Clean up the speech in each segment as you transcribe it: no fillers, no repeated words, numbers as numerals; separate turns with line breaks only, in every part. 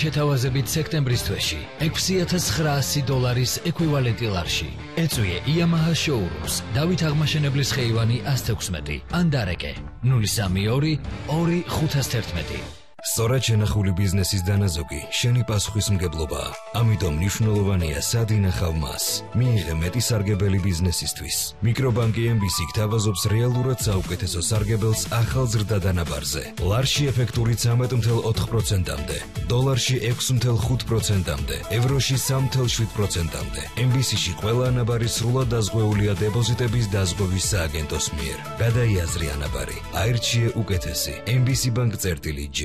შეთავაზებით სექტემბრის თვეში $6,900 ეკვივალენტი ლარში. ეწვიე Yamaha showrooms, დავით აღმაშენებლის ხეივანი 116, ანდარეკე 032 2511.
სწორად შენახული ბიზნესის დანაზოგი შენი პასუხისმგებლობაა. ამიტომ მნიშვნელოვანია სად ინახავ მას. მიიღე მეტი სარგებელი ბიზნესისთვის. მიკრობანკი MBC გთავაზობს რეალურად საუკეთესო სარგებელს ახალ ზრდა დანაბარზე. ლარში ეფექტური 13.4%-მდე, დოლარში 6.5%-მდე, ევროში 3.7%-მდე. MBC-ში ყველა ანაბარი სრულად დაზღვეულია დეპოზიტების დაზღვევის სააგენტოს მიერ. გადაიაზრი ანაბარი. აირჩიე უკეთესი. MBC Bank-G.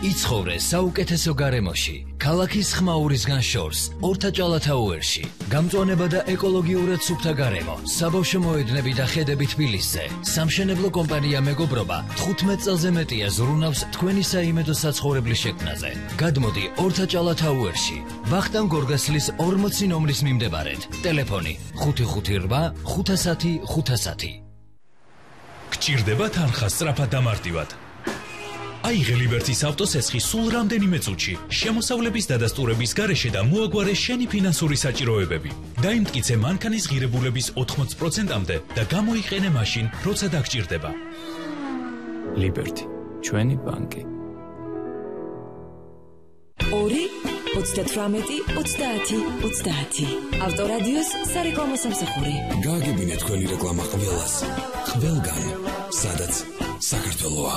იცხოვრე საუკეთესო გარემოში, ქალაქის ხმაურისგან შორს, ორთაჭალათაუერში. გამწვანება და ეკოლოგიურად სუფთა გარემო, საბავშვო მოედნები და ხედები თბილისზე. სამშენებლო კომპანია მეგობრობა 15 წელზე მეტია ზრუნავს თქვენი საიმედო საცხოვრებლის შექმნაზე. გადმოდი ორთაჭალათაუერში, ვახტანგ გორგასლის 40 ნომრის მიმდებარედ. ტელეფონი 558 510 510.
გჭირდება თანხა სწრაფად დამარტივად. აიღე ლიბერტის ავტოსესხი სულ რამდენიმე წუთში, შემოსავლების დადასტურების გარეშე და მოაგვარე შენი ფინანსური საჭიროებები. დაიმტკიცე მანქანის ღირებულების 80%-მდე და გამოიყენე მაშინ, როცა დაგჭირდება. ლიბერტი, ჩვენი ბანკი.
2-38-30-30. ავტორადიოს სარეკლამო სამსახური.
გააგებინე თქვენი რეკლამა ყველას. ყველგან, სადაც საქართველოა.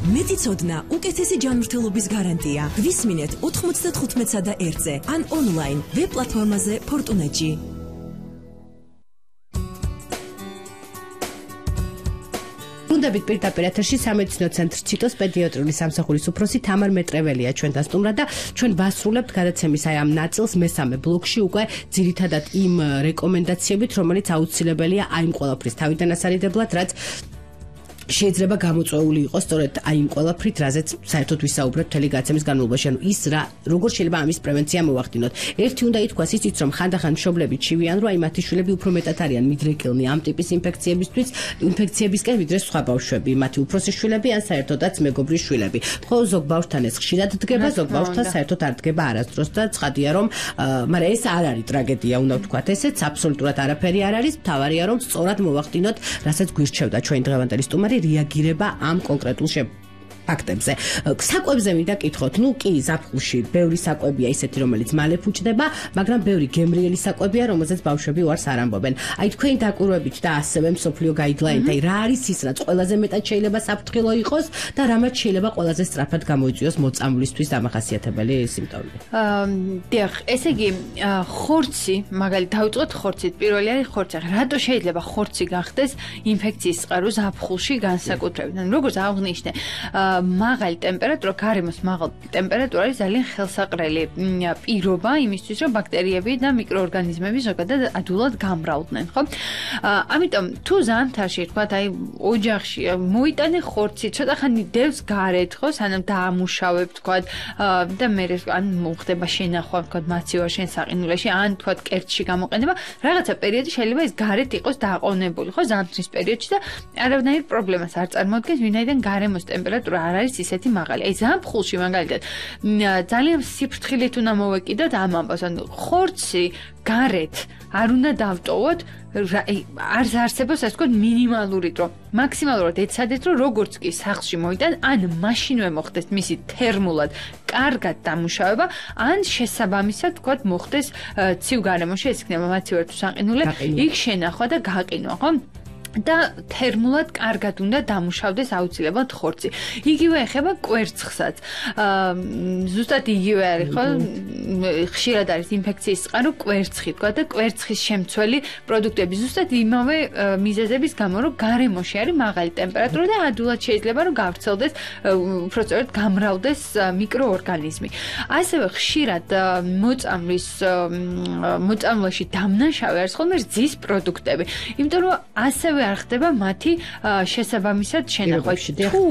მეტი ცოდნა, უკეთესი ჯანმრთელობის გარანტია. გვისმინეთ 95-ზე და 1-ზე ან ონლაინ ვებ პლატფორმაზე Fortune-ში.
ბრუნდებით პირდაპირ ეთერში სამედიცინო ცენტრ ციტოს პედიატრიული სამსახურის უფროსი თამარ მეტრეველია ჩვენთან სტუმრად და ჩვენ ვასრულებთ გადაცემის აი ამ ნაწილს მესამე ბლოკში უკვე ძირითადად იმ რეკომენდაციებით, რომელიც აუცილებელია აი იმ ყველაფრის თავიდან ასარიდებლად, რაც შეიძლება გამოწვეული იყოს სწორედ აი იმ ყველაფრით, რაზეც საერთოდ ვისაუბრეთ მთელი გადაცემის განმავლობაში. ანუ ის რა, როგორ შეიძლება ამის პრევენცია მოვახდინოთ. ერთი უნდა ითქვას ისიც, რომ ხანდახან მშობლები ჩივიან, რომ აი მათი შვილები უფრო მეტად არიან მიდრეკილნი ამ ტიპის ინფექციებისკენ, ვიდრე სხვა ბავშვები, მათი უფროსი შვილები ან საერთოდაც მეგობრის შვილები. ხო, ზოგ ბავშვთან ეს ხშირად დგება, ზოგ ბავშვთან საერთოდ არ დგება არასდროს და ცხადია, რომ მაგრამ ეს არ არის ტრაგედია, უნდა ვთქვათ ესეც, აბსოლუტურად არაფერი არ არის. მთავარია, რომ სწორად მოვახდინოთ, რასაც გვირჩევდა ჩვენი დღევანდელი სტუმარი, რეაგირება ამ კონკრეტულ ფაქტებზე. საკვებზე მინდა კითხოთ, ნუ კი ზაფხულში ბევრი საკვებია ისეთი, რომელიც მალე ფუჭდება, მაგრამ ბევრი გემრიელი საკვებია, რომელზეც ბავშვები უარს არ ამბობენ. აი თქვენი დაკვირვებით და ასევე მსოფლიო გაიდლაინით, აი რა არის ის, რაც ყველაზე მეტად შეიძლება საფრთხილო იყოს და რამაც შეიძლება ყველაზე სწრაფად გამოიწვიოს მოწამვლისთვის დამახასიათებელი სიმპტომები.
დიახ, ესე იგი, ხორცი, მაგალითად დავიწყოთ ხორცით. პირველი არის ხორცი. რატო შეიძლება ხორცი გახდეს ინფექციის წყარო ზაფხულში განსაკუთრებით? ანუ როგორც აღნიშნე, მაღალი ტემპერატურა, გარემოს მაღალი ტემპერატურა არის ძალიან ხელსაყრელი პირობა იმისთვის, რომ ბაქტერიები და მიკროორგანიზმები ზოგადად ადვილად გამრავლდნენ, ხო? ამიტომ თუ ზამთარში, თქვათ, აი ოჯახში მოიტანე ხორცი, ცოტა ხანი დევს გარეთ, ხო, სანამ დაამუშავებ, თქვათ, და მე ან მოხდება შენახვა, თქვათ, მაცივარ შენ საყინულეში, ან თქვათ, კერძში გამოყენება, რაღაცა პერიოდი შეიძლება ეს გარეთ იყოს დააყოვნებული, ხო, ზამთრის პერიოდში და არავითარ პრობლემას არ წარმოადგენს, ვინაიდან გარემოს ტემპერატურა არ არის ისეთი მაღალი. აი ზაფხულში მაგალითად ძალიან სიფრთხილით უნდა მოვეკიდოთ ამ ამბავს. ანუ ხორცი გარეთ არ უნდა დავტოვოთ, არ არსებობს ასე ვთქვათ მინიმალური დრო. მაქსიმალურად ეცადეთ, რომ როგორც კი სახლში მოიტან, ან მაშინვე მოხდეს მისი თერმულად კარგად დამუშავება, ან შესაბამისად ვთქვათ მოხდეს ცივ გარემოში, ეს იქნება მაცივარ თუ საყინულე, იქ შენახვა და გაყინვა, ხო? და თერმულად კარგად უნდა დამუშავდეს აუცილებლად ხორცი. იგივე ეხება კვერცხსაც. ზუსტად იგივე არის, ხო? ხშირად არის ინფექციის წყარო კვერცხი, თქვა და კვერცხის შემცველი პროდუქტები ზუსტად იმავე მიზეზების გამო, რომ გარემოში არის მაღალი ტემპერატურა და ადვილად შეიძლება რომ გავრცელდეს, უბრალოდ გამრავლდეს მიკროორგანიზმი. ასევე ხშირად მოწამვლაში დამნაშავე არის ხოლმე რძის პროდუქტები. იმიტომ რომ ასევე არ ხდება მათი შესაბამისად შენახვა. თუ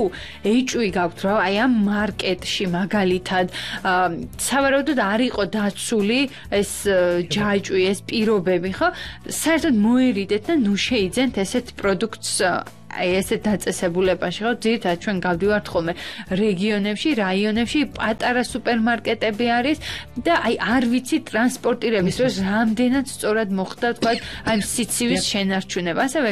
HV გაქვთ რა, აი ამ მარკეტში მაგალითად სავარაუდოდ არ იყო დაცული ეს ჯაჭვი, ეს პირობები, ხო? საერთოდ მოერიდეთ და ნუ შეიძენთ ესეთ პროდუქტს აი ესე დაწესებულებაში ხო ძირითადად ჩვენ გავდივართ ხოლმე რეგიონებში, რაიონებში, პატარა სუპერმარკეტები არის და აი არ ვიცი ტრანსპორტირების დროს რამდენად სწორად მოხდა თქვა აი სიცივის შენარჩუნება. ასევე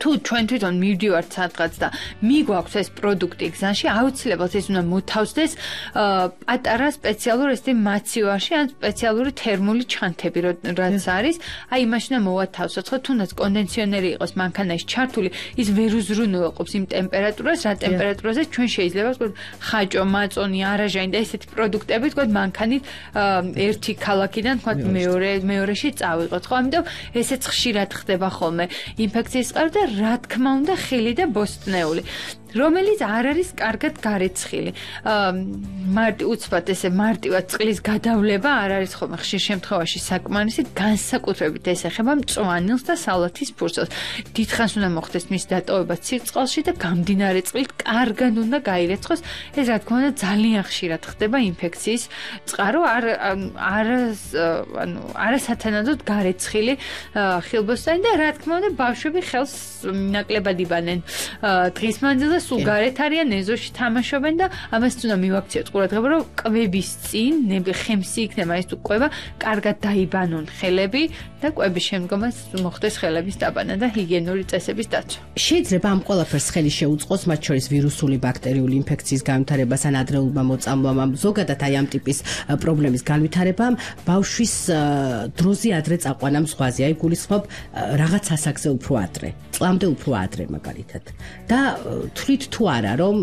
თუ ჩვენ თვითონ მივდივართ სადღაც და მიგვაქვს ეს პროდუქტი გზაში, აუცილებლად ეს უნდა მოთავსდეს პატარა სპეციალურ ესეთი მაცივარში ან სპეციალური თერმული ჩანთები, რაც არის. აი იმაში უნდა მოვათავსოთ, ხო თუნდაც კონდენსიონერი იყოს მანქანაში ჩართული, ის ვერ უზრუნველყოფს იმ ტემპერატურას, რა ტემპერატურაზე ჩვენ შეიძლება ვთქვათ ხაჭო, მაწონი, არაჟანი და ესეთი პროდუქტები ვთქვათ მანქანით ერთი ქალაქიდან ვთქვათ მეორეში წავიღოთ, ხო? ამიტომ ესეც ხშირად ხდება ხოლმე ინფექციის წყარო და რა თქმა უნდა ხილი და ბოსტნეული, რომელიც არ არის კარგად გარეცხილი. უცბად ესე მარტივად წყლის გადავლება არ არის ხოლმე ხშირ შემთხვევაში საკმარისი, განსაკუთრებით ეს ეხება მწვანილს და სალათის ფურცელს. დიდხანს უნდა მოხდეს მის დატოვება ცივწყალში და გამდინარე წყლით კარგად უნდა გაირეცხოს. ეს რა თქმა უნდა ძალიან ხშირად ხდება ინფექციის წყარო, არასათანადოდ გარეცხილი ხილბოსტანი და რა თქმა უნდა ბავშვები ხელს ნაკლებად იბანენ დღის მანძილზე, სულ გარეთ არიან, ეზოში თამაშობენ და ამას უნდა მივაქციოთ ყურადღება, რომ კვების წინ ხემსი იქნება ეს თუ კვება, კარგად დაიბანონ ხელები და კვების შემდგომაც მოხდეს ხელების დაბანა და ჰიგიენური წესების დაცვა.
შეიძლება ამ ყველაფერს ხელი შეუწყოს, მათ შორის ვირუსული ბაქტერიული ინფექციის განვითარებას ან ადრეულმა მოწამვლამ, ზოგადად აი ამ ტიპის პრობლემის განვითარებამ ბავშვის დროზე ადრე წაყვანა ზღვაზე, აი გულისხმობ რაღაც ასაკზე უფრო ადრე, წლამდე უფრო ადრე მაგალითად. და თვლით თუ არა რომ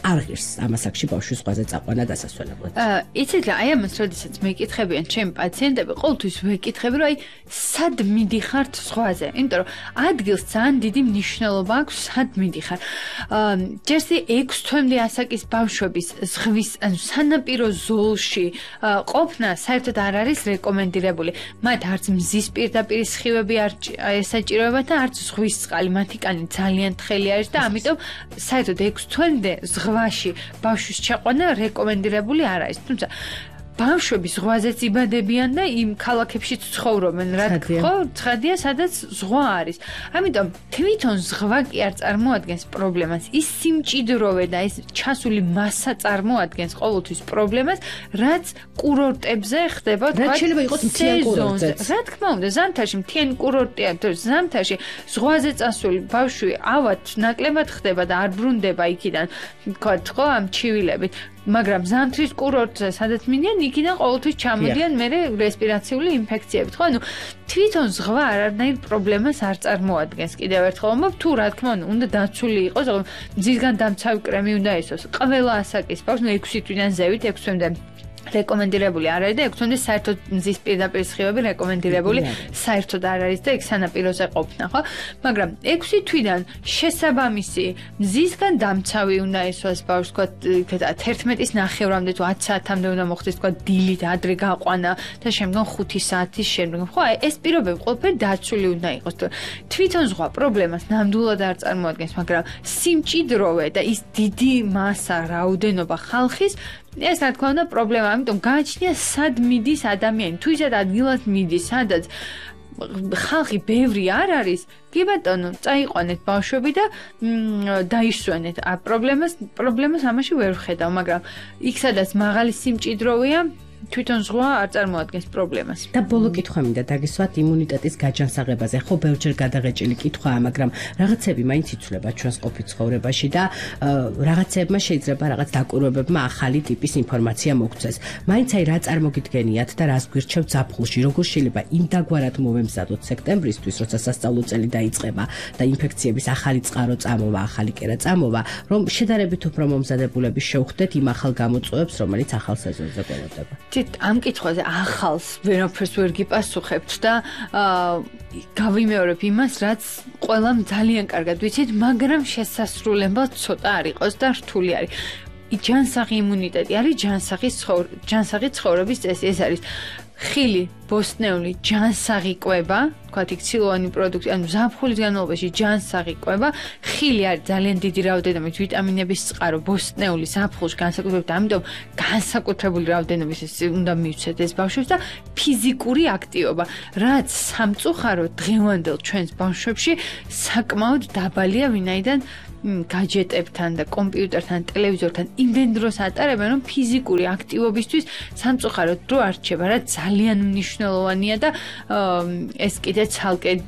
არ ღირს ამ ასაკში ბავშვის ზღვაზე წაყვანა დასასვენებლად.
იცით რა, აი ამას როდესაც მეკითხებიან ჩემი პაციენტები, ყოველთვის ვეკითხები, რომ აი სად მიდიხართ ზღვაზე? იმიტომ რომ ადგილს ძალიან დიდი მნიშვნელობა აქვს, სად მიდიხარ. ჯერსი 6 თვემდე ასაკის ბავშვების ზღვის, ანუ სანაპირო ზოლში ყოფნა საერთოდ არ არის რეკომენდირებული. მათ არც მზის პირდაპირ სხივები არ ესაჭიროებათ და არც ზღვის წყალი, მათი კანი ძალიან თხელი არის და ამიტომ საერთოდ 6 თვემდე ზღვაში ბავშვის ჩაყვანა რეკომენდირებული არ არის. თუმცა ბავშვები ზღვაზეც იბადებიან და იმ ქალაქებშიც ცხოვრობენ, რა თქო, ცხადია, სადაც ზღვა არის. ამიტომ თვითონ ზღვა კი არ წარმოადგენს პრობლემას, ის სიმჭიდროვე და ეს ჩასული მასა წარმოადგენს ყოველთვის პრობლემას, რაც კურორტებზე ხდება,
რაც შეიძლება იყოს მთიან კურორტზე.
რა თქმა უნდა, ზამთარში მთიანი კურორტია, ზამთარში ზღვაზე წასული ბავშვი ავად ნაკლებად ხდება და არ ბრუნდება იქიდან, თქო, ამ ჩივილებით. მაგრამ ზამთრის კურორტზე, სადაც მინდიან, იქიდან ყოველთვის ჩამოდიან მერე რესპირაციული ინფექციები. ხო, ანუ თვითონ ზღვა არანაირ პრობლემას არ წარმოადგენს. კიდევ ერთხელ ვამბობ, თუ რა თქმა უნდა დაცული იყოს, მზისგან დამცავი კრემი უნდა ისოს. ყველა ასაკის ბავშვს 6 თვიდან ზევით 6 თვემდე რეკომენდირებული არ არის და 6 თვემდე საერთოდ მზის პირდაპირ სხივები რეკომენდირებული საერთოდ არ არის და ეგ სანაპიროზე ყოფნა, ხო? მაგრამ 6 თვიდან შესაბამისი მზისგან დამცავი უნდა ისოს ბავშვს, თქვა 11-ის ნახევრამდე თუ 10 საათამდე უნდა მოხდეს, თქვა დილით ადრე გაყვანა და შემდგომ 5 საათის შემდგომ. ხო, ეს პირობები ყველაფერი დაცული უნდა იყოს. თვითონ ზღვა პრობლემას ნამდვილად არ წარმოადგენს, მაგრამ სიმჭიდროვე და ის დიდი მასა, რაოდენობა ხალხის ეს რა თქმა უნდა პრობლემა, ამიტომ გააჩნია სად მიდის ადამიანი, თუ ისეთ ადგილას მიდის, სადაც ხალხი ბევრი არ არის, კი ბატონო, წაიყვანეთ ბავშვები და დაისვენეთ. პრობლემას ამაში ვერ ვხედავ, მაგრამ იქ სადაც მაღალი სიმჭიდროვეა, თვითონ ზღვა არ წარმოადგენს პრობლემას.
და ბოლო კითხვა მინდა დაგისვათ იმუნიტეტის გაჯანსაღებაზე. ხო, ბევრჯერ გადაღეჭილი კითხვაა, მაგრამ რაღაცები მაინც იცვლება ჩვენს ყოფით ცხოვრებაში და რაღაცებმა შეიძლება რაღაც დაკვირვებებმა ახალი ტიპის ინფორმაცია მოგცეს. მაინც აი რა წარმოგიდგენიათ და რას გვირჩევთ ზაფხულში, როგორ შეიძლება იმდაგვარად მოვემზადოთ სექტემბრისთვის, როცა სასწავლო წელი დაიწყება და ინფექციების ახალი წყარო წამოვა, ახალი კერა წამოვა, რომ შედარებით უფრო მომზადებულები შევხვდეთ იმ ახალ გამოწვევებს, რომელიც ახალ სეზონზე გველოდება.
ამ კითხვაზე ახალს ვერაფერს ვერ გიპასუხებთ და გავიმეორებ იმას, რაც ყველამ ძალიან კარგად ვიცით, მაგრამ შესასრულებლად ცოტა არ იყოს და რთული არის. ჯანსაღი იმუნიტეტი არის ჯანსაღი ცხოვრების წესი. ეს არის ხილი, ბოსტნეული ჯანსაღი კვება, თქვათ იქ ცილოვანი პროდუქტი, ანუ ზაფხულის განმავლობაში ჯანსაღი კვება, ხილი არის ძალიან დიდი რაოდენობით ვიტამინების წყარო, ბოსტნეული ზაფხულში განსაკუთრებით, ამიტომ განსაკუთრებული რაოდენობის უნდა მივცეთ ეს ბავშვებს და ფიზიკური აქტივობა, რაც სამწუხაროდ დღევანდელ ჩვენს ბავშვებში საკმაოდ დაბალია, ვინაიდან გაჯეტებთან და კომპიუტერთან, ტელევიზორთან იმდენ დროს ატარებენ, რომ ფიზიკური აქტივობისთვის სამწუხაროდ დრო არ რჩება, რაც ძალიან მნიშვნელოვანია და ეს კიდე ცალკე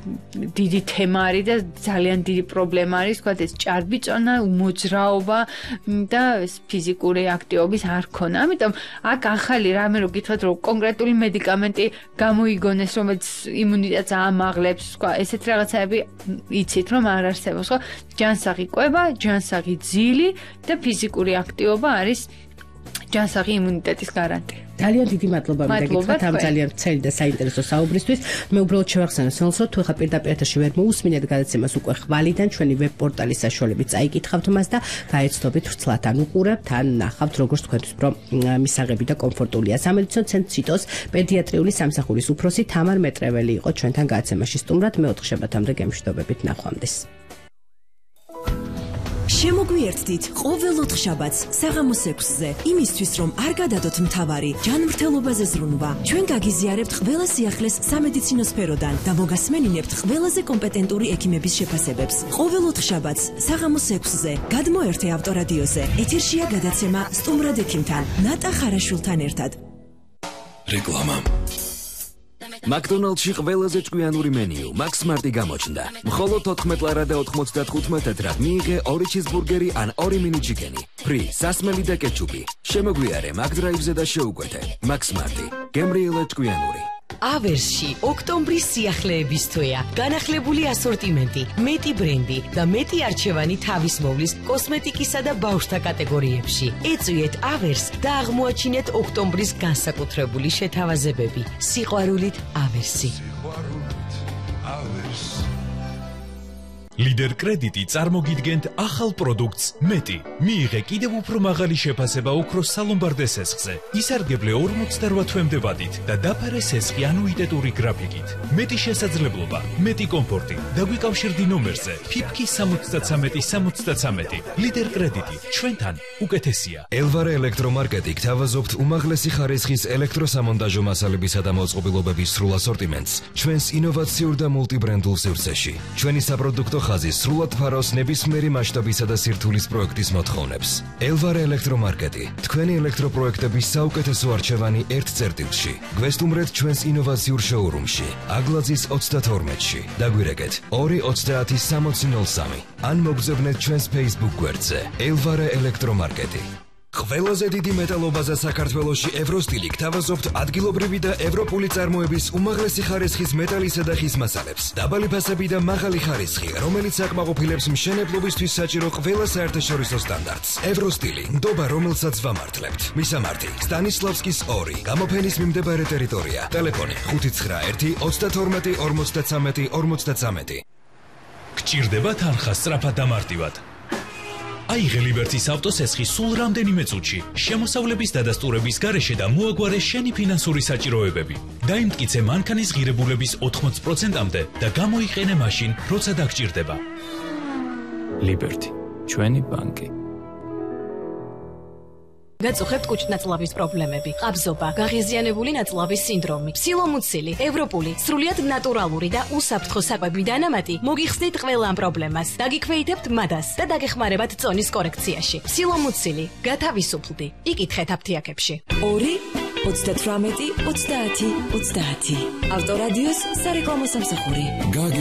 დიდი თემა არის და ძალიან დიდი პრობლემა არის, თქვათ ეს ჭარბიწონა, უმოძრაობა და ეს ფიზიკური აქტივობის არ ქონა. ამიტომ აქ ახალი რამე რო გითხრათ, რომ კონკრეტული მედიკამენტი გამოიგონეს, რომელიც იმუნიტეტს აამაღლებს, სხვა ესეთ რაღაცები იცით, რომ არ არსებობს, ხო? ჯანსაღი ჯანსაღი ძილი და ფიზიკური აქტივობა არის ჯანსაღი იმუნიტეტის გარანტი.
ძალიან დიდი მადლობა მოგეკითხათ ამ ძალიან ვრცელი და საინტერესო საუბრისთვის. მე უბრალოდ შევახსენებ სულსო, თუ ხა პირდაპირ ეთერში ვერ მოусმინეთ გადაცემას უკვე ხვალიდან ჩვენი ვებ-პორტალის საშუალებით წაიკითხავთ მას და გაეცდობით ვრცლად ან უყურებთ, ან ნახავთ როგორც თქვენთვის პრო მისაღები და კომფორტულია. სამედიცინო ცენტრ ციტოს პედიატრიული სამსახურის უფროსი თამარ მეტრეველი იყო ჩვენთან გადაცემაში სტუმრად. მე 4 შაბათამდე გემშვიდობებით, ნახვამდის.
შემოგვიერთდით ყოველ 4 შაბათს საღამოს 6-ზე, იმისთვის რომ არ გადადოთ მთავარი ჯანმრთელობაზე ზრუნვა. ჩვენ გაგიზიარებთ ყველა სიახლეს სამედიცინო სფეროდან და მოგასმენინებთ ყველაზე კომპეტენტური ექიმების შეფასებებს. ყოველ 4 შაბათს საღამოს 6-ზე გადმოერთე ავტორადიოზე. ეთერშია გადაცემა სტუმრად ექიმთან ნატა ხარაშვილთან ერთად.
რეკლამა. McDonald's-ში ყველაზე ჭკვიანური მენიუ McSmart-ი გამოჩნდა. მხოლოდ 14 ლარა და 95 ცენტრად მიიღე 2 ჩიზბურგერი ან 2 mini chicken-ი. ფრი, სასმელი და კეჩუპი. შემოგვიარე McDrive-ზე და შეუკვეთე. McSmart-ი. გემრიელად ჭკვიანური.
ავერსში ოქტომბრის სიახლეების თვეა. განახლებული ასორტიმენტი, მეტი ბრენდი და მეტი არჩევანი თავისმოვლის კოსმეტიკისა და ბავშვთა კატეგორიებში. ეწვიეთ ავერს და აღმოაჩინეთ ოქტომბრის განსაკუთრებული შეთავაზებები. სიყვარულით ავერსი.
ლიდერ კრედიტი წარმოგიდგენთ ახალ პროდუქტს მეტი. მიიღე კიდევ უფრო მაღალი შეფასება ოქროს სალომბარდე სესხზე. ისარგებლე 48 თვემდე ვადით და დაფარე სესხი ანუიტეტური გრაფიკით. მეტი შესაძლებლობა, მეტი კომფორტი. დაგვიკავშირდი ნომერზე ფიფკი 73-73. ლიდერ კრედიტი ჩვენთან უკეთესია.
ელვარე ელექტრომარკეტი გთავაზობთ უმაღლესი ხარისხის ელექტროსამონტაჟო მასალებისა და მოწყობილობების სრულ ასორტიმენტს ჩვენს ინოვაციურ და მულტიბრენდულ სივრცეში. ჩვენი საპროდუქტო ხაზი სრულად ფარავს ნებისმიერი მასშტაბისა და სირთულის პროექტის მოთხოვნებს. ელვარე ელექტრომარკეტი, თქვენი ელექტროპროექტების საუკეთესო არჩევანი ერთ წერტილში. გვესტუმრეთ ჩვენს ინოვაციურ შოურუმში, აგლაძის 32-ში. დაგვირეკეთ 2-30-60-03 ან მოგზავნეთ ჩვენს Facebook გვერდზე. ელვარე ელექტრომარკეტი. ყველაზე დიდი მეტალობაზე საქართველოში ევროსტილი გთავაზობთ ადგილობრივი და ევროპული წარმოების უმაღლესი ხარისხის მეტალისა და ხის მასალებს. დაბალი ფასები და მაღალი ხარისხი, რომელიც აკმაყოფილებს მშენებლობისთვის საჭირო ყველა საერთაშორისო სტანდარტს. ევროსტილი, ნდობა რომელსაც ვამართლებთ. მისამართი: სტანისლავსკის 2, გამოფენის მიმდებარე ტერიტორია. ტელეფონი 591-52-53-53.
გჭირდება თანხა სწრაფად და მარტივად. აიღე ლიბერტის ავტოსესხი სულ რამდენიმე წუთში, შემოსავლების დადასტურების გარეშე და მოაგვარე შენი ფინანსური საჭიროებები. დაიმტკიცე მანქანის ღირებულების 80%-მდე და გამოიყენე მაშინ, როცა დაგჭირდება.
ლიბერტი, ჩვენი ბანკი.
გაწუხებთ კუჭნაწლავის პრობლემები, ყაბზობა, გაღიზიანებული ნაწლავის სინდრომი, სილომუცილი, ევროპული, სრულიად ნატურალური და უსაფრთხო საკვები დანამატი მოგიხსნით ყველა ამ პრობლემას. დაგიქვეითებთ მადას და დაგეხმარებათ წონის კორექციაში. სილომუცილი, გათავისუფლდი. იკითხეთ აფთიაქებში.
2-38-30-30. ავტორადიოს სარეკლამო სამსახური.